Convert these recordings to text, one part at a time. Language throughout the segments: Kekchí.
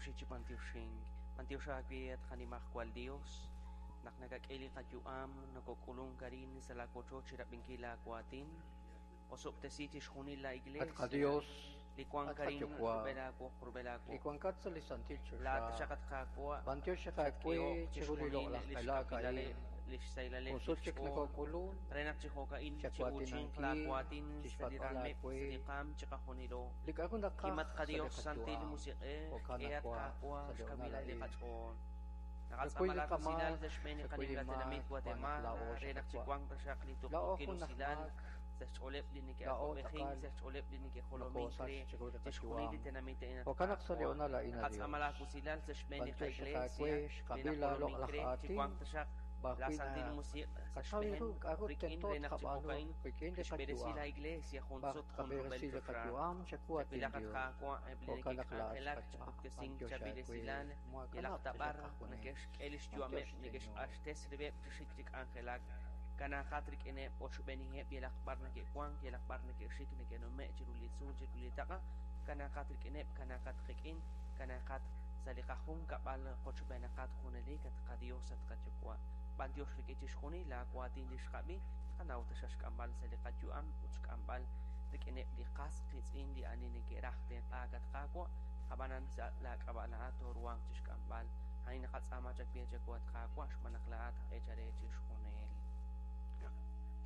Toxi chi b'antioxink. B'antiox aawe at qanimajwal Dios, naq nakak'e li qayu'am nokok'ulunk arin sa' laawochoch chi rab'inkil laawaatin. Osob'tesi chixjunil la At Iglesia qaDios, li wank at arin qaYuwa', rub'el aawoq rub'el li aawoq. wankat sa' li santil choxa, Laa'at taxaq at Qaawa' b'antiox aawe xatk'ehok chiru li chixjunil loq'laj li qelaak xkawilaleb', a'in. li xsahilaleb' Jun li sut chik xch'ool, nokok'ulun re naq chi jo'ka'in chi'uuchinq chawaatinankil, laawaatin sa' li chixpatz'b'al raameb' aawe sa' li qaam chiqajunilo. li k'a'ru naqaj Kimat sa' li qaDios Santil qayu'am. Musiq'ej, Jo'kan k'e at Qaawa' Qaawa' sa' li honal xkawilal li a'in. qach'ool. Chakuy Naqatz'aama li laakusilal qamaak, sa' xb'een li chakuy li qanimla tenamit maak, xb'aan naq Guatemala, laa'o re naq xqawa'. chiwanq taxaq li Laa'o tuqtuukil jun aj usilal maak, sa' xch'ooleb' li laa'o neke'awab'ejink, tz'aqal sa' xch'ooleb' li neke'jolomink nokosach re chiru li chixjunil li qayu'am. tenamit a'in at Jo'kan naq sa' li Qaawa'. honal a'in, a Naqatz'aama Dios, laakusilal sa' xb'een li b'antiox qaIglesia aawe li xqab'i laa najolomink loq'laj re, aatin, chiwanq taxaq b'ar la wi' Santil Musiq' sa' naqataw xb'een ru k'a'ru rik'in tento re naq chi tqab'aanu jo'ka'in rik'in li tixb'eresi qayu'am, la Iglesia jun b'ar sut jun rub'el tqab'eresi li choxa. qayu'am chawu atin Chawilaq at Dios. Qaawa' eb' li Jo'kan naq laa'at neke'k'anjelak chi xqawa', puktesink b'antiox chaab'il aawe, esilal, yalaq mooakanab' ta taxaq b'ar qajunes. neke'xk'e li B'antiox xyu'ameb', Señor. neke'xq'axtes rib'eb' chi xik chi k'anjelak. Kanaaqat rik'ineb' oxb'eeniheb' yalaq b'ar neke'wank, yalaq b'ar neke'xik, neke'nume' chiru li tzuul, chiru li taq'a. Kanaaqat rik'ineb', kanaaqat qik'in, kanaaqat sa' li qajunkab'al qochb'eenaqat junelik at qaDios at qaYuwa'. B'antiox rik'in chixjunil laawaatin li xqab'i, qanaw taxaq xk'amb'al sa' li qayu'am ut xk'amb'al rik'ineb' li qas qiitz'in li ani neke'raj tenq'aak at Qaawa', ab'anan sa' laak'ab'a' laa'at tooruhanq chixk'amb'al. A'in naqatz'aama chawe chawu at Qaawa' xb'aan naq laa'at aj eechal re chixjunil.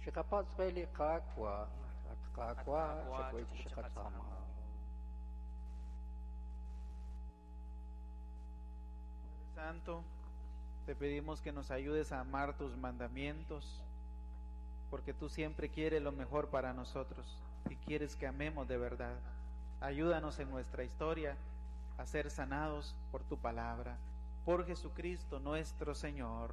Chiqapatz' re li Qaawa', at At Qaawa', Qaawa' chakuy chakuy chiqatz'aama. chiqatz'aama. Santo, te pedimos que nos ayudes a amar tus mandamientos, porque tú siempre quieres lo mejor para nosotros y quieres que amemos de verdad. Ayúdanos en nuestra historia a ser sanados por tu palabra. Por Jesucristo nuestro Señor.